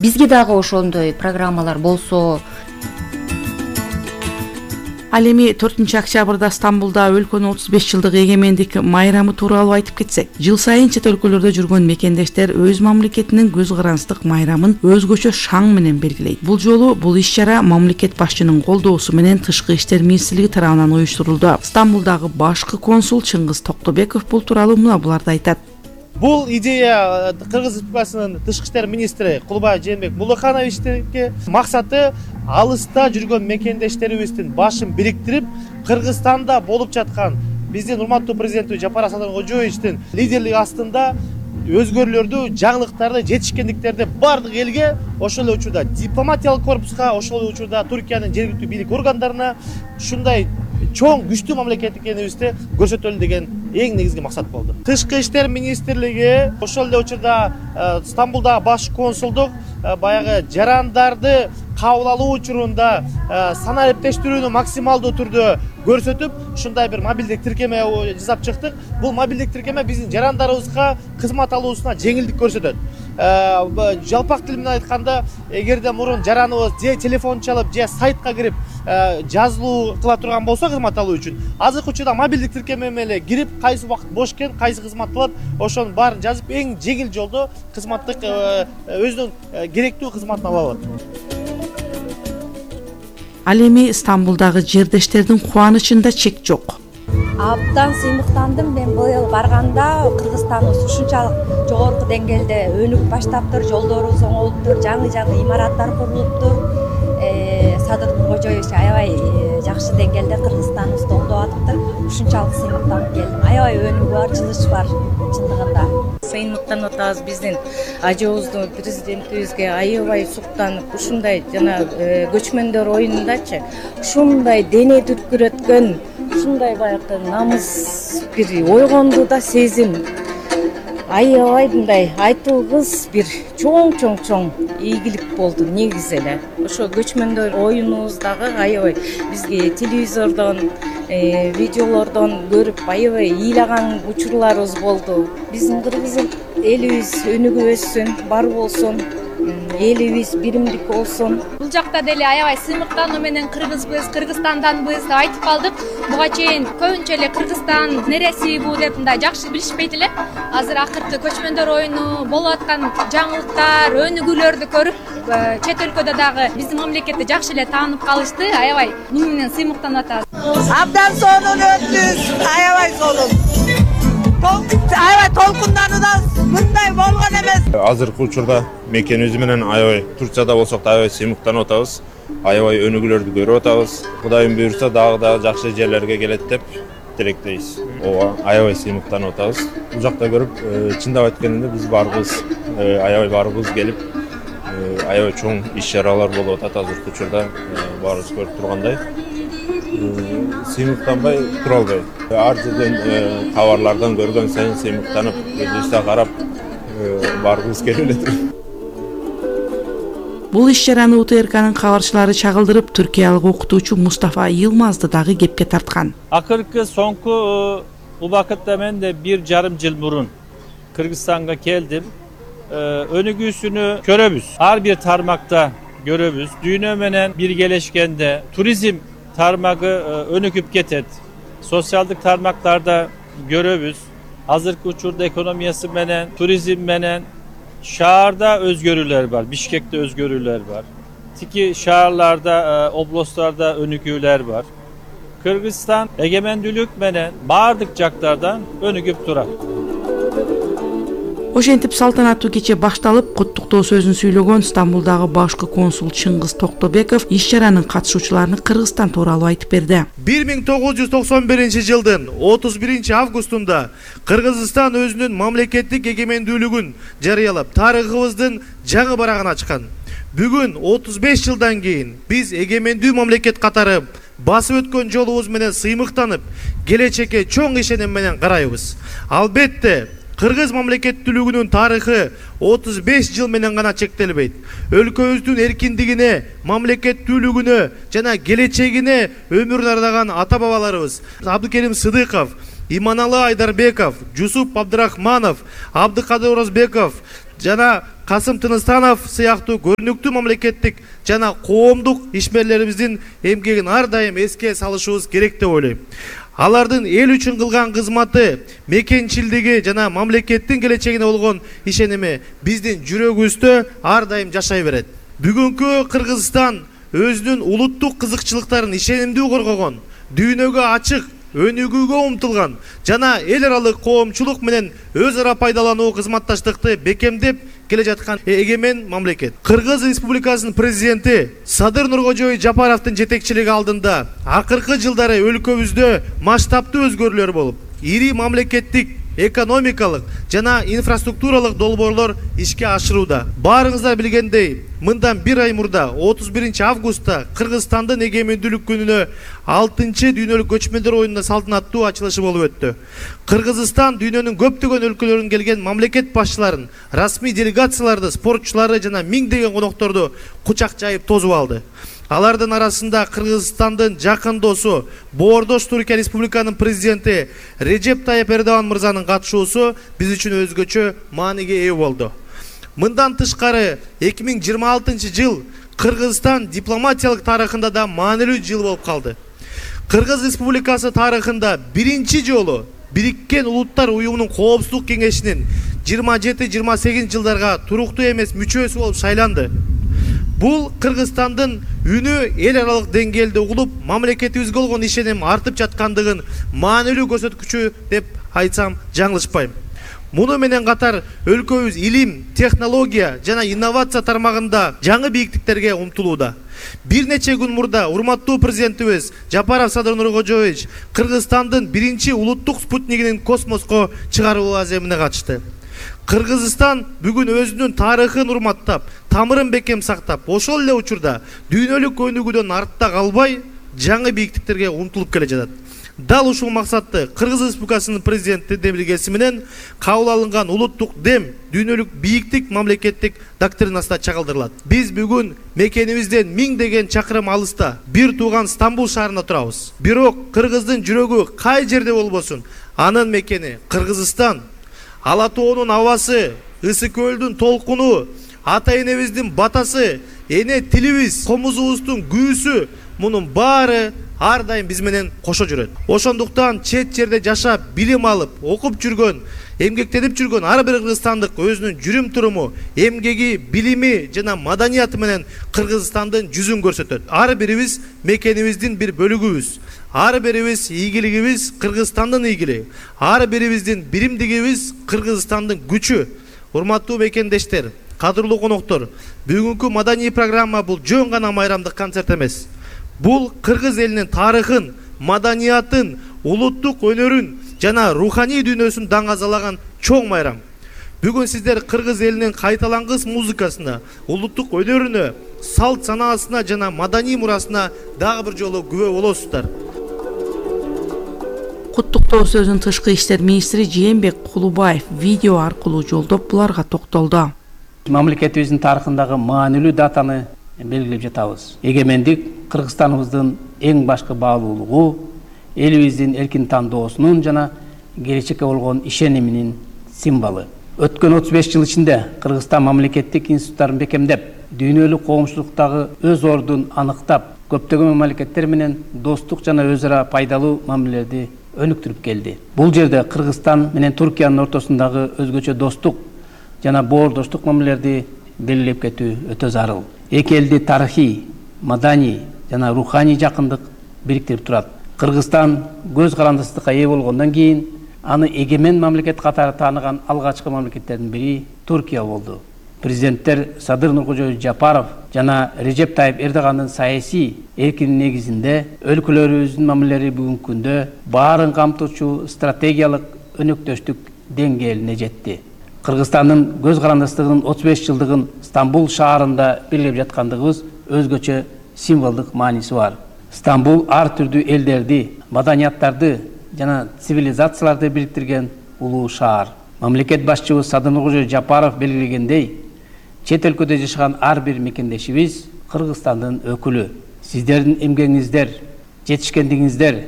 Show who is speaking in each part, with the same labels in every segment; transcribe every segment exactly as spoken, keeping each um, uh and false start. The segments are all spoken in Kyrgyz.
Speaker 1: Бизге дагы ошондой программалар болсо.
Speaker 2: Ал эми төртүнчү октябрда Стамбулда өлкөнүн отуз беш жылдык эгемендик майрамы тууралуу айтып кетсек, жыл сайын чет өлкөлөрдө жүргөн мекендештер өз мамлекетинин көз карандык майрамын өзгөчө шаң менен белгилейт. Бул жолу бул иш-чара мамлекет башчынын колдоосу менен Тышкы иштер министрлиги тарабынан уюштурулду. Стамбулдагы башкы консул Чыңгыз Токтобеков бул тууралуу мына буларды айтат.
Speaker 3: Бул идея Кыргыз Республикасынын Тышкы иштер министри Кулбай Жээнбек Булыкановичтики. Максаты алыста жүргөн мекендештерибиздин башын бириктирип, Кыргызстанда болуп жаткан биздин урматтуу президенти Жапар Асаткожоевичтин лидерлиги астында өзгөрүүлөрдү, жаңылыктарды, жетишкендиктерди бардык элге, ошол эле учурда дипломатиялык корпуска, ошол эле учурда Түркиянын жергиликтүү бийлик органдарына ушундай чоң күчтүү мамлекет экенибизди көрсөтөлү деген эң негизги максат болду. Тышкы иштер министрлиги ошол эле учурда Стамбулдагы баш консулдук баягы жарандарды кабыл алуу учурунда санариптештирүүнү максималдуу түрдө көрсөтүп, ушундай бир мобилдик тиркеме жасап чыктык. Бул мобилдик тиркеме биздин жарандарыбызга кызмат алуусуна жеңилдик көрсөтөт. Жалпак тил менен айтканда, эгерде мурун жараныбыз же телефон чалып, же сайтка кирип жазылуу кыла турган болсо кызмат алуу үчүн, азыркы учурда мобилдик тиркеме менен кирип, кайсы убакыт бош экен, кайсы кызмат кылат, ошонун баарын жазып, эң жеңил жолдо кызматтык өзүнүн керектүү кызматын ала алат.
Speaker 2: Ал эми Стамбулдагы жердештердин кубанычында чек жок.
Speaker 4: Абдан сыймыктандым. Мен быйыл барганда Кыргызстаныбыз ушунчалык жогорку деңгээлде өнүгүп баштаптыр, жолдорубуз оңолуптур, жаңы-жаңы имараттар курулуптур. Садыр Нуркожоевич аябай жакшы деңгээлде Кыргызстаныбызды оңдоп атыптыр. Ушунчалык сыймыктанып келдим. Аябай өнүгүү бар, жылыш бар чындыгында.
Speaker 5: Сыймыктанып атабыз, биздин ажообуздун президентибизге аябай суктанып, ушундай жана көчмөндөр оюнундачы ушундай дене дүркүрөткөн, ушундай баягы намыс бир ойгонду да сезим. Аябай мындай айтылгыс бир чоң-чоң-чоң ийгилик болду негизи эле. Ошо көчмөндөр оюнубуздагы аябай бизге телевизордон, видеолордон көрүп аябай ыйлаган учурларыбыз болду. Биздин кыргыз элибиз өнүгүп өссүн, бар болсун, элибиз биримдик болсун.
Speaker 6: Бул жакта деле аябай сыймыктануу менен кыргызбыз, Кыргызстанданбыз деп айтып калдык. Буга чейин көбүнчө эле Кыргызстан нереси бу деп мындай жакшы билишпейт эле. Азыр акыркы көчмөндөр оюну, болуп аткан жаңылыктар, өнүгүүлөрдү көрүп, чет өлкөдө дагы биздин мамлекетти жакшы эле таанып калышты. Аябай муну менен сыймыктанып атабыз.
Speaker 7: Абдан сонун өттүбүз, аябай сонун. Аябай толкундануудан мындай болгон эмес.
Speaker 8: Азыркы учурда мекенибиз менен аябай Турцияда болсок да аябай сыймыктанып атабыз. Аябай өнүгүүлөрдү көрүп атабыз. Кудайым буйрса дагы да жакшы жерлерге келет деп тилектейбиз. Ооба, аябай сыймыктанып атабыз. Бул жакта көрүп, чындап айтканда биз барыбыз, аябай барыбыз келип, аябай чоң иш-чаралар болуп атат азыркы учурда, баарыбыз көрүп тургандай. Сыймыктанбай тура албайбыз. Ар жерден кабарлардан көргөн сайын сыймыктанып, өзүбүзгө карап, барыбыз келип эле.
Speaker 2: Бул иш-чараны У Т Р К'нын кабарчылары чагылдырып, түркиялык окутуучу Мустафа Йылмазды дагы кепке тарткан.
Speaker 9: Акыркы соңку убакытта мен де бир жарым жыл мурун Кыргызстанга келдим. Өнүгүүсүнү көрөбүз. Ар бир тармакта көрөбүз. Дүйнө менен биргелешкенде туризм тармагы өнүгүп кетет. Социалдык тармактарда көрөбүз. Азыркы учурда экономиясы менен, туризм менен шаарда өзгөрүүлөр бар, Бишкекте өзгөрүүлөр бар. Тики шаарларда, областтарда өнүгүүлөр бар. Кыргызстан эгемендүүлүк менен бардык жактардан өнүгүп турат.
Speaker 2: Ошентип салтанаттуу кече башталып, куттуктоо сөзүн сүйлөгөн Стамбулдагы башкы консул Чыңгыз Токтобеков иш-чаранын катышуучуларына Кыргызстан тууралуу айтып берди.
Speaker 3: бир миң тогуз жүз токсон биринчи жылдын отуз биринчи августунда Кыргызстан өзүнүн мамлекеттик эгемендүүлүгүн жарыялап, тарыхыбыздын жаңы барагын ачкан. Бүгүн отуз беш жылдан кийин биз эгемендүү мамлекет катары басып өткөн жолубуз менен сыймыктанып, келечекке чоң ишеним менен карайбыз. Албетте, Кыргыз мамлекеттүүлүгүнүн тарыхы отуз беш жыл менен гана чектелбейт. Өлкөбүздүн эркиндигине, мамлекеттүүлүгүнө жана келечегине өмүрүн ардаган ата-бабаларыбыз Абдыкерим Сыдыков, Иманалы Айдарбеков, Жусуп Абдырахманов, Абдыкадыр Оразбеков, жана Касым Тыныстанов сыяктуу көрүнүктүү мамлекеттик жана коомдук ишмерлерибиздин эмгегин ар дайым эске салышыбыз керек деп ойлойм. Алардын эл үчүн кылган кызматы, мекенчилдиги жана мамлекеттин келечегине болгон ишеними биздин жүрөгүбүздө ар дайым жашай берет. Бүгүнкү Кыргызстан өзүнүн улуттук кызыкчылыктарын ишенимдүү коргогон, дүйнөгө ачык, өнүгүүгө умтулган жана эл аралык коомчулук менен өз ара пайдалануу кызматташтыкты бекемдеп келе жаткан эгемен мамлекет. Кыргыз Республикасынын президенти Садыр Нуркожоевич Жапаровдун жетекчилиги алдында акыркы жылдары өлкөбүздө масштабтуу өзгөрүүлөр болуп, ири мамлекеттик экономикалык жана инфраструктуралык долбоорлор ишке ашырууда. Баарыңыздар билгендей, мындан бир ай мурда отуз биринчи августта Кыргызстандын эгемендүүлүк күнүнө алтынчы дүйнөлүк көчмөндөр оюнунун салтанаттуу ачылышы болуп өттү. Кыргызстан дүйнөнүн көптөгөн өлкөлөрүнөн келген мамлекет башчыларын, расмий делегацияларды, спортчуларды жана миңдеген конокторду кучак жайып тосуп алды. Алардын арасында Кыргызстандын жакын досу, Боордош Түркия Республиканын президенти Режеп Тайып Эрдоган мырзанын катышуусу биз үчүн өзгөчө мааниге ээ болду. Мындан тышкары эки миң жыйырма алтынчы жыл Кыргызстан дипломатиялык тарыхында да маанилүү жыл болуп калды. Кыргыз Республикасы тарыхында биринчи жолу Бириккен Улуттар Уюмунун Коопсуздук кеңешинин жыйырма жети жыйырма сегизинчи жылдарга туруктуу эмес мүчөсү болуп шайланды. Бул Кыргызстандын үнү эл аралык деңгээлде угулуп, мамлекетибизге болгон ишеним артып жаткандыгын маанилүү көрсөткүчү деп айтсам жаңылышпайм. Муну менен катар өлкөбүз илим, технология жана инновация тармагында жаңы бийиктиктерге умтулууда. Бир нече күн мурда урматтуу президентибиз Жапаров Садыр Нуркожоевич Кыргызстандын биринчи улуттук спутнигинин космоско чыгаруу аземине катышты. Кыргызстан бүгүн өзүнүн тарыхын урматтап, тамырын бекем сактап, ошол эле учурда дүйнөлүк өнүгүүдөн артта калбай, жаңы бийиктиктерге умтулуп келе жатат. Дал ушул максатты Кыргыз Республикасынын президенти демилгеси менен кабыл алынган улуттук дем дүйнөлүк бийиктик мамлекеттик доктринасында чагылдырылат. Биз бүгүн мекенибизден миңдеген чакырым алыста бир тууган Стамбул шаарында турабыз. Бирок Кыргыздын жүрөгү кай жерде болбосун, анын мекени Кыргызстан. Ала тоонун абасы, Ысык көлдүн толкуну, ата энебиздин батасы, эне тилибиз, комузубуздун күүсү, мунун баары ар дайым биз менен кошо жүрөт. Ошондуктан чет жерде жашап, билим алып, окуп жүргөн, эмгектенип жүргөн ар бир кыргызстандык өзүнүн жүрүм туруму, эмгеги, билими жана маданияты менен Кыргызстандын жүзүн көрсөтөт. Ар бирибиз мекенибиздин бир бөлүгүбүз. Ар бирибиз ийгилигибиз Кыргызстандын ийгилиги. Ар бирибиздин биримдигибиз Кыргызстандын күчү. Урматтуу мекендештер, кадырлуу коноктор, бүгүнкү маданий программа бул жөн гана майрамдык концерт эмес. Бул Кыргыз элинин тарыхын, маданиятын, улуттук өнөрүн жана руханий дүйнөсүн даңазалаган чоң майрам. Бүгүн сиздер Кыргыз элинин кайталангыс музыкасына, улуттук өнөрүнө, салт санаасына жана маданий мурасына дагы бир жолу күбө болосуздар.
Speaker 2: Куттуктоо сөзүн тышкы иштер министри Жээнбек Кулубаев видео аркылуу жолдоп буларга токтолду.
Speaker 10: Мамлекетибиздин тарыхындагы маанилүү датаны белгилеп жатабыз. Эгемендик Кыргызстаныбыздын эң башкы баалуулугу, элибиздин эркин тандоосунун жана келечекке болгон ишениминин символу. Өткөн отуз беш жыл ичинде Кыргызстан мамлекеттик институттарын бекемдеп, дүйнөлүк коомчулуктагы өз ордун аныктап, көптөгөн мамлекеттер менен достук жана өз ара пайдалуу мамилелерди өнүктүрүп келди. Бул жерде Кыргызстан менен Түркиянын ортосундагы өзгөчө достук жана боордоштук мамилелерди белгилеп кетүү өтө зарыл. Эки элди тарыхый, маданий жана руханий жакындык бириктирип турат. Кыргызстан көз карандысыздыкка ээ болгондон кийин аны эгемен мамлекет катары тааныган алгачкы мамлекеттердин бири Түркия болду. Президенттер Садыр Нуркожоевич Жапаров жана Режеп Тайып Эрдогандын саясий эркинин негизинде өлкөлөрүбүздүн мамилелери бүгүнкү күндө баарын камтуучу стратегиялык өнөктөштүк деңгээлине жетти. Кыргызстандын көз карандыстыгынын отуз беш жылдыгын Стамбул шаарында белгилеп жаткандыгыбыз өзгөчө символдук мааниси бар. Стамбул ар түрдүү элдерди, маданияттарды жана цивилизацияларды бириктирген улуу шаар. Мамлекет башчыбыз Садыр Нуркожоевич Жапаров белгилегендей, чет өлкөдө жашаган ар бир мекендешибиз Кыргызстандын өкүлү. Сиздердин эмгегиңиздер, жетишкендигиңиздер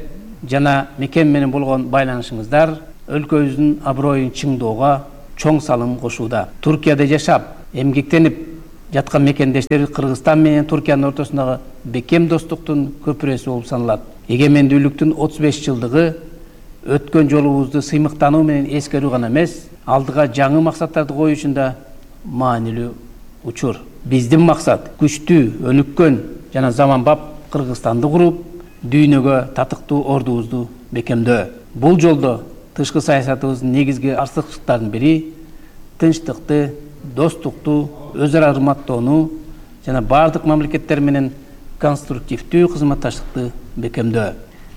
Speaker 10: жана мекен менен болгон байланышыңыздар өлкөбүздүн аброюн чыңдоого чоң салым кошууда. Туркияда жашап, эмгектенип жаткан мекендештер Кыргызстан менен Туркиянын ортосундагы бекем достуктун көпүрөсү болуп саналат. Эгемендүүлүктүн отуз беш жылдыгы өткөн жолубузду сыймыктануу менен эскерүү гана эмес, алдыга жаңы максаттарды коюу үчүн да маанилүү учур. Биздин максат күчтүү, өнүккөн жана заманбап Кыргызстанды куруп, дүйнөгө татыктуу ордубузду бекемдөө. Бул жолдо тышкы саясатыбыздын негизги артыкчылыктарынын бири тынчтыкты, достукту, өз ара урматтоону жана бардык мамлекеттер менен конструктивдүү кызматташтыкты бекемдөө.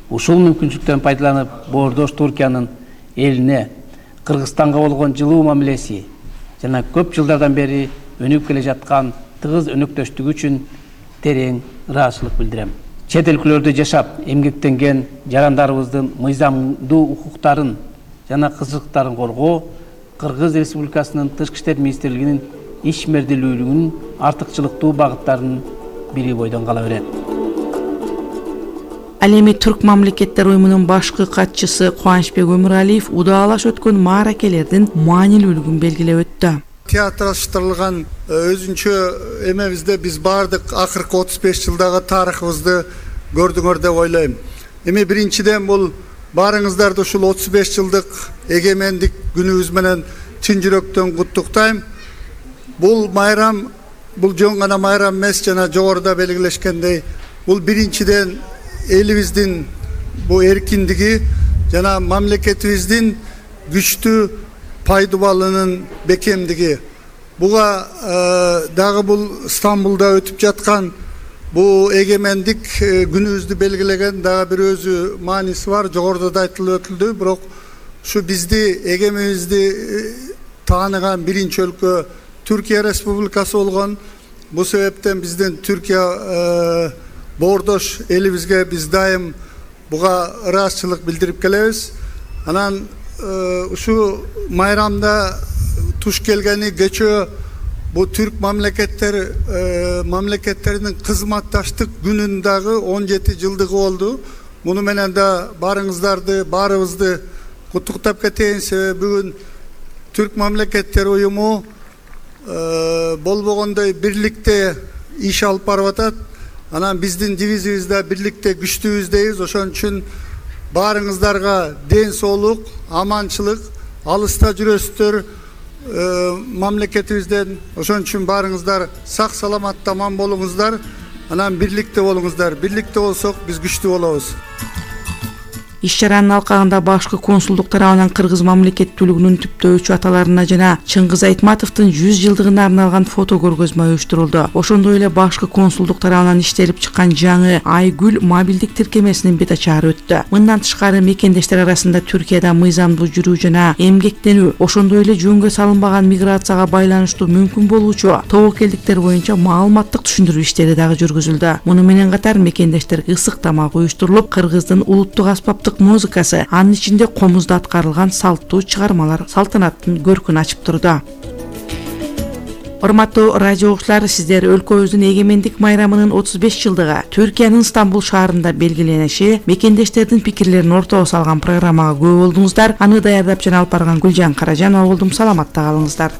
Speaker 10: Ушул мүмкүнчүлүктөн пайдаланып, боордош Туркиянын элине Кыргызстанга болгон жылуу мамилеси жана көп жылдардан бери өнүгүп келе жаткан тыгыз өнөктөштүгү үчүн терең ыраазычылык билдирем. Чет өлкөлөрдө жашап, эмгектенген жарандарыбыздын мыйзамдуу укуктарын жана кызыктарын коргоо Кыргыз Республикасынын Тышкы иштер министрлигинин ишмердүүлүгүнүн артыкчылыктуу багыттарынын бири бойдон кала берет.
Speaker 2: Ал эми Түрк мамлекеттер уюмунун башкы катчысы Кубанычбек Өмүралиев удаалаш өткөн мааракелердин маанилүүлүгүн белгилеп өттү.
Speaker 11: Театралаштырылган өзүнчө эмебизде биз бардык акыркы отуз беш жылдагы тарыхыбызды көрдүңөр деп ойлойм. Эми биринчиден бул баарыңыздарды ушул отуз беш жылдык эгемендик күнүбүз менен чын жүрөктөн куттуктайм. Бул майрам, бул жөн гана майрам эмес, жана жогоруда белгилешкендей, бул биринчиден элибиздин бул эркиндиги жана мамлекетибиздин күчтүү пайдубалынын бекемдиги. Буга дагы бул Стамбулда өтүп жаткан бул эгемендик күнүбүздү белгилеген дагы бир өзү мааниси бар. Жогоруда да айтылып өтүлдү, бирок ушу бизди эгемендигибизди тааныган биринчи өлкө Түркия Республикасы болгон. Бул себептен биздин Түркия боордош элибизге биз дайым буга ыраазычылык билдирип келебиз. Анан ушу майрамда туш келгени кечөө бу түрк мамлекеттер мамлекеттеринин кызматташтык күнүнүн дагы он жети жылдыгы болду. Муну менен да барыңыздарды, баарыбызды куттуктап кетейин, себеби бүгүн түрк мамлекеттер уюму болбогондой бирликте иш алып барып атат. Анан биздин дивизиябыз да бирликте күчтүүбүз дейбиз. Ошон үчүн баарыңыздарга ден соолук, аманчылык, алыста жүрөсүздөр мамлекетибизден. Ошон үчүн баарыңыздар сак саламатта аман болуңуздар. Анан бирликте болуңуздар. Бирликте болсок биз күчтүү болобуз.
Speaker 2: Иш-чаранын алкагында башкы консулдук тарабынан кыргыз мамлекеттүүлүгүнүн түптөөчү аталарына жана Чыңгыз Айтматовдун жүз жылдыгына арналган фото көргөзмө уюштурулду. Ошондой эле башкы консулдук тарабынан иштелип чыккан жаңы Айгүл мобилдик тиркемесинин бет ачары өттү. Мындан тышкары мекендештер арасында Түркияда мыйзамдуу жүрүү жана эмгектенүү, ошондой эле жөнгө салынбаган миграцияга байланыштуу мүмкүн болуучу тобокелдиктер боюнча маалыматтык түшүндүрүү иштери дагы жүргүзүлдү. Муну менен катар мекендештер ысык тамак уюштурулуп, Кыргыздын улуттук аспаптык музыкасы, анын ичинде комузда аткарылган салттуу чыгармалар салтанаттын көркүн ачып турду. Урматтуу радио угуучулар, сиздер өлкөбүздүн эгемендик майрамынын отуз беш жылдыгы Түркиянын Стамбул шаарында белгилениши, мекендештердин пикирлерин ортого салган программага күбө болдуңуздар. Аны даярдап жана алып барган Гүлжан Каражанова болдум. Саламатта калыңыздар.